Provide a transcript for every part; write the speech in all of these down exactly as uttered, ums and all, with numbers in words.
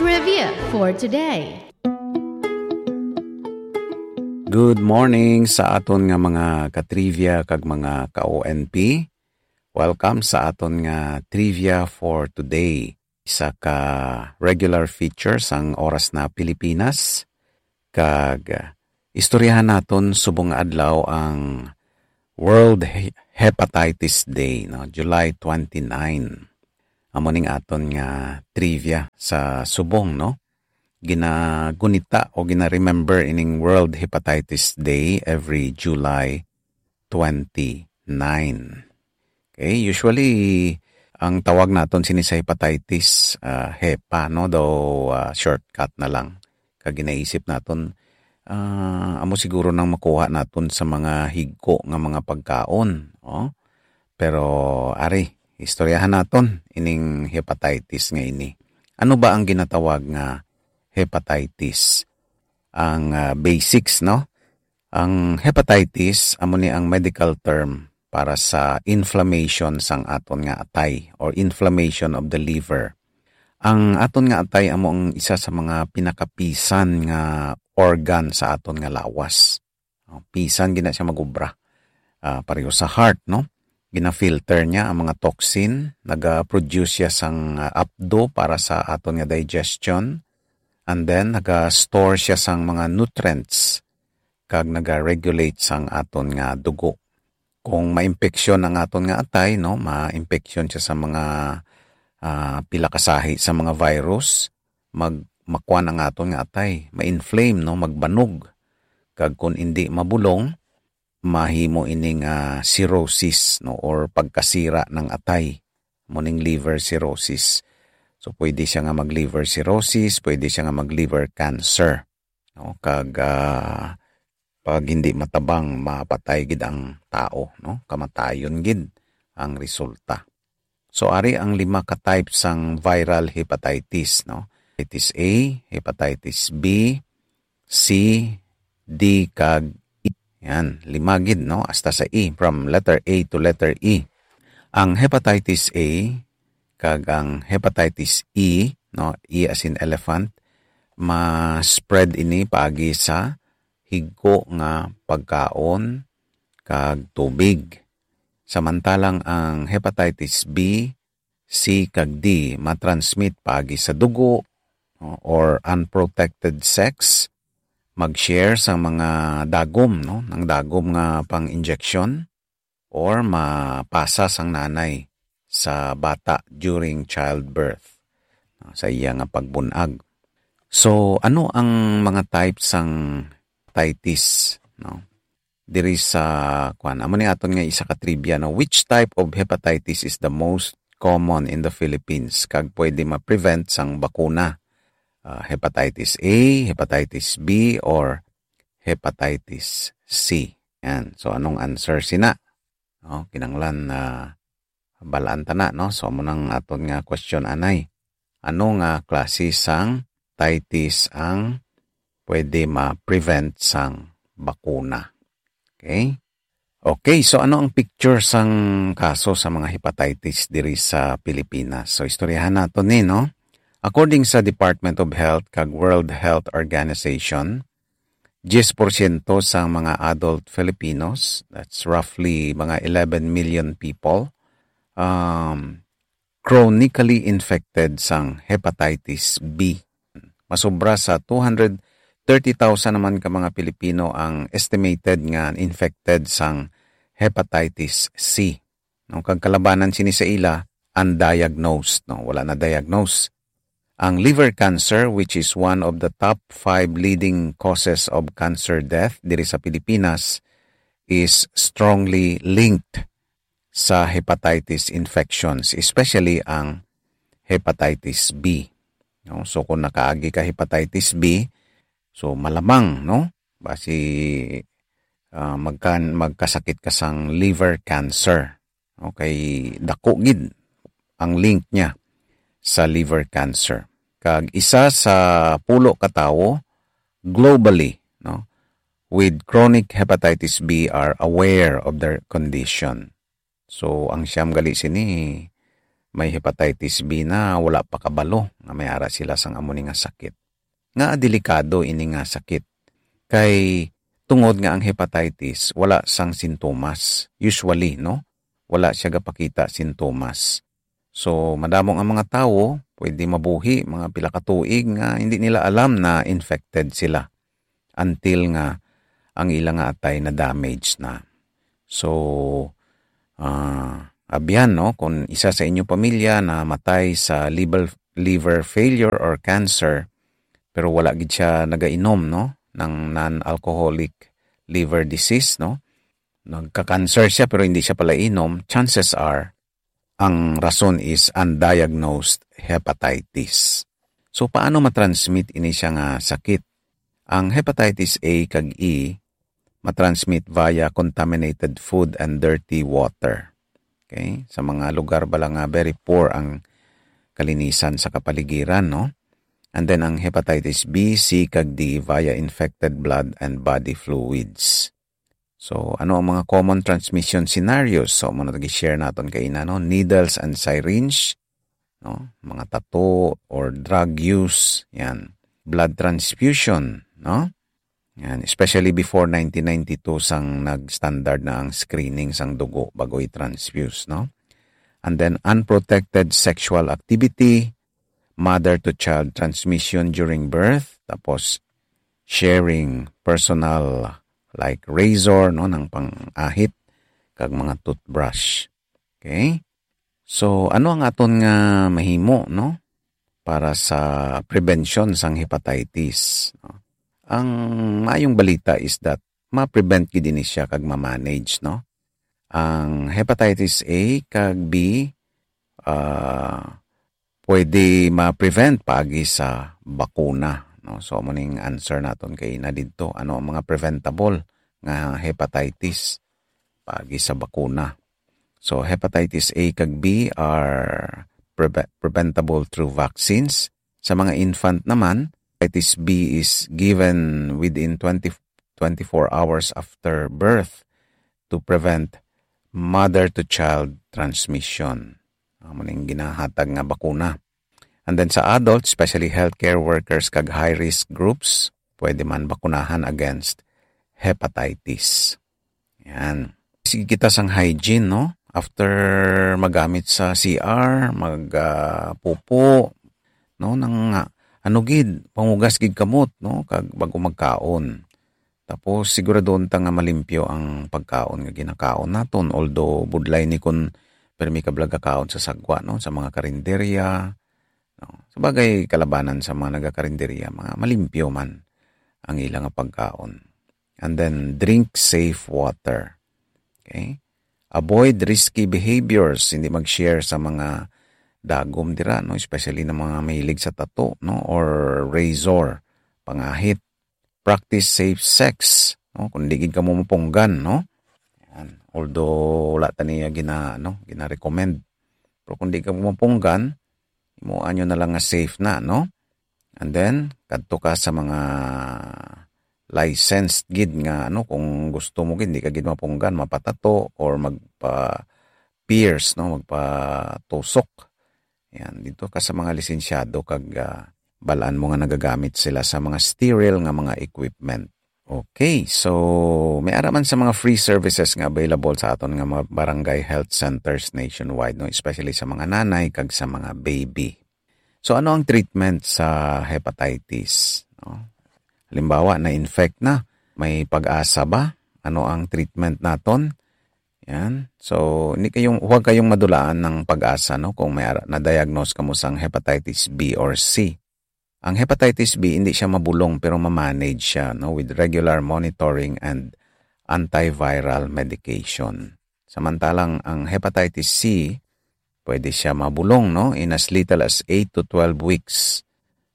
Trivia for today. Good morning sa aton nga mga ka-trivia kag mga ka-O N P. Welcome sa aton nga trivia for today. Isa ka regular feature sang Oras na Pilipinas. Kag, ah, istoryahan naton subong nga adlaw ang World He-, Hepatitis Day, no? July twenty-nine. Amo ning aton nga trivia sa subong, no? Ginagunita o gina-remember ining World Hepatitis Day every July twenty-nine. Okay, usually, ang tawag naton sini sa hepatitis, ah, hepa, no? Daw, ah, shortcut na lang. Kag ginaisip naton, ah, amo siguro nang makuha naton sa mga higko nga mga pagkaon, oh. Pero, ari, istoryahan naton ining hepatitis nga ini. Ano ba ang ginatawag nga hepatitis? Ang, ah, basics, no? Ang hepatitis, amo ni ang medical term para sa inflammation sang aton nga atay or inflammation of the liver. Ang aton nga atay amo ang isa sa mga pinakapisan nga organ sa aton nga lawas. Oh, pisan gina siya mag-obra. Ah, pareho sa heart, no? Gina-filter niya ang mga toxin, naga-produce siya sang, ah, apdo para sa aton nga digestion, and then naga-store siya sang mga nutrients kag naga-regulate sang aton nga dugo. Kung ma-impeksyon ang aton nga atay, no, ma-impeksyon siya sa mga, ah, pila ka sahi sa mga virus, mag-, makuan ang aton nga atay, ma-inflame, no, magbanog. Kag kung indi mabulong, mahimo ining, ah, cirrhosis, no, or pagkasira ng atay, mo ning liver cirrhosis. So, pwede siya nga mag-liver cirrhosis, pwede siya nga mag-liver cancer, no? Kag, ah, pag hindi matabang, mapatay gid ang tao, no? Kamatayon gid ang resulta. So, ari ang lima ka type sang viral hepatitis, no? Hepatitis A, hepatitis B, C, D, kag E. Yan, lima gid, no? Hasta sa E, from letter A to letter E. Ang hepatitis A kag ang hepatitis E, no? E as in elephant, ma-spread ini paagi sa higko nga pagkaon kag tubig. Samantalang ang hepatitis B, C, kag D matransmit paagi sa dugo, no, or unprotected sex, mag-share sa mga dagom, no, ng dagom nga pang-injection, or mapasa sang nanay sa bata during childbirth, no, sa iya nga pagbunag. So, ano ang mga type sang hepatitis, no? Diri sa, kuwan, amo ni aton nga isa ka trivia, no? Which type of hepatitis is the most common in the Philippines? Kag pwede ma-prevent sang bakuna? Ah, hepatitis A, hepatitis B, or hepatitis C? Yan. So, anong answer sina? No, kinahanglan na balaan ta na, no? So, amo nang aton nga question anay. Ano nga klase sang hepatitis ang pwede ma-prevent sang bakuna? Okay? Okay, so ano ang picture sang kaso sa mga hepatitis diri sa Pilipinas? So, istoryahan nato ni, no? According sa Department of Health kag World Health Organization, diyes porsyento sang mga adult Filipinos, that's roughly mga eleven million people, um, chronically infected sang hepatitis B. Masobra sa two hundred thirty thousand naman ka mga Pilipino ang estimated nga infected sang hepatitis C. No, kag kalabanan sini sa ila, undiagnosed, no, wala na diagnose. Ang liver cancer, which is one of the top five leading causes of cancer death diri sa Pilipinas, is strongly linked sa hepatitis infections, especially ang hepatitis B. No? So, kung nakaagi ka hepatitis B, so malamang, no? Basi, ah, magkan-, magkasakit ka sang liver cancer. Okay, dako gid ang link niya sa liver cancer. Kag isa sa pulo ka tawo globally, no, with chronic hepatitis B are aware of their condition. So, ang siyam gali sini, may hepatitis B na, wala pa kabalo nga may ara sila sang amo ni nga sakit. Nga delikado ini nga sakit. Kay tungod nga ang hepatitis wala sang sintomas. Usually, no? Wala siya gapakita sintomas. So, madamo nga mga tawo pwede mabuhi mga pila ka tuig nga hindi nila alam na infected sila until nga ang ila nga atay na damage na. So, ah, abyan, no, kung isa sa inyo pamilya na matay sa liver, liver failure or cancer, pero wala gid siya nagainom, no, ng non-alcoholic liver disease, no, nagka-cancer siya pero hindi siya pala inom, chances are, ang rason is undiagnosed hepatitis. So, paano matransmit ini siya nga sakit? Ang hepatitis A kag E matransmit via contaminated food and dirty water. Okay? Sa mga lugar bala nga very poor ang kalinisan sa kapaligiran, no? And then ang hepatitis B, C, kag D via infected blood and body fluids. So, ano ang mga common transmission scenarios? So, muna gi-share naton kay ina, no? Needles and syringe, no? Mga tattoo or drug use, yan. Blood transfusion, no? Yan, especially before nineteen ninety-two sang nag-standard na ang screening sang dugo bago i-transfuse, no? And then unprotected sexual activity, mother to child transmission during birth, tapos sharing personal like razor, no, ng pang-ahit kag mga toothbrush. Okay? So, ano ang aton nga mahimo, no, para sa prevention sang hepatitis, no? Ang maayong balita is that ma-prevent gid ini siya kag ma-manage, no? Ang hepatitis A kag B, ah, pwede ma-prevent paagi sa bakuna, no? So, amo ning answer naton kay na didto. Ano ang mga preventable nga hepatitis paagi sa bakuna? So, hepatitis A kag B are preve-, preventable through vaccines. Sa mga infant naman, hepatitis B is given within twenty, twenty-four hours after birth to prevent mother-to-child transmission. Amo ning ginahatag nga bakuna. And then sa adults, especially healthcare workers kag high-risk groups, pwede man bakunahan against hepatitis. Yan. Sige kita sang hygiene, no? After magamit sa C R, mag, ah, pupo, no? Nang, ah, ano gid, pangugas gid kamot, no? Kag bago magkaon. Tapos, siguraduhon ta nga malimpyo ang pagkaon nga ginakaon naton. Although, budlay ni kun permi ka bala gakaon sa sagwa, no? Sa mga karinderya, no? Sabagay, kalabanan sa mga nagakarinderya, mga malimpyo man ang ila nga pagkaon. And then, drink safe water. Okay? Avoid risky behaviors. Hindi mag-share sa mga dagom dira, no? Especially ng mga mahilig sa tato, no? Or razor, pangahit. Practice safe sex, no? Kung di gid kamo mapunggan, no? Yan. Although, wala ta niya gina-, no? Gina-recommend. Pero kung di ka mapunggan, himuan nyo na lang nga safe na, no? And then, kadto ka sa mga licensed gid nga, ano, kung gusto mo gid, di ka gid mapunggan, mapatato or magpa-pierce, no? Magpatusok. Yan, dito ka sa mga lisensyado kag, ah, balaan mo nga nagagamit sila sa mga sterile nga mga equipment. Okay, so may ara man sa mga free services nga available sa aton nga mga barangay health centers nationwide, no? Especially sa mga nanay kag sa mga baby. So ano ang treatment sa hepatitis, no? Halimbawa, na-infect na, may pag-asa ba? Ano ang treatment naton? Yan. So, hindi kayong, huwag kayong madulaan ng pag-asa, no, kung may ara-, na-diagnose kamo sang hepatitis B or C. Ang hepatitis B, hindi siya mabulong, pero ma-manage siya, no, with regular monitoring and antiviral medication. Samantalang ang hepatitis C, pwede siya mabulong, no, in as little as eight to twelve weeks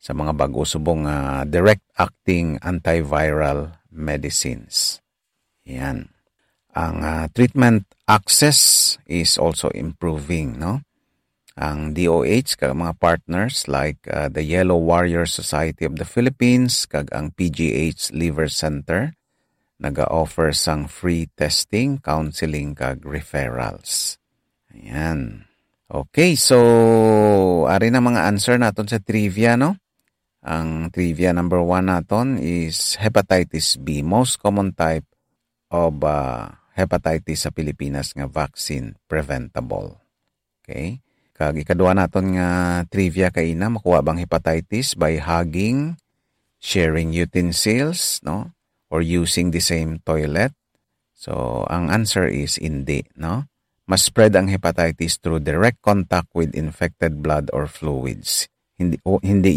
sa mga bago subong nga direct-acting antiviral medicines. Yan. Ang, ah, treatment access is also improving, no? Ang D O H kag mga partners like, ah, the Yellow Warrior Society of the Philippines kag ang P G H Liver Center naga-offer sang free testing, counseling kag referrals. Ayan. Okay, so ari na mga answer naton sa trivia, no? Ang trivia number one naton is hepatitis B, most common type of, ah, hepatitis sa Pilipinas nga vaccine preventable. Okay? Kag ikadua naton nga trivia kaina, makuha bang hepatitis by hugging, sharing utensils, no? Or using the same toilet? So, ang answer is hindi, no? Mas spread ang hepatitis through direct contact with infected blood or fluids. Hindi, o, hindi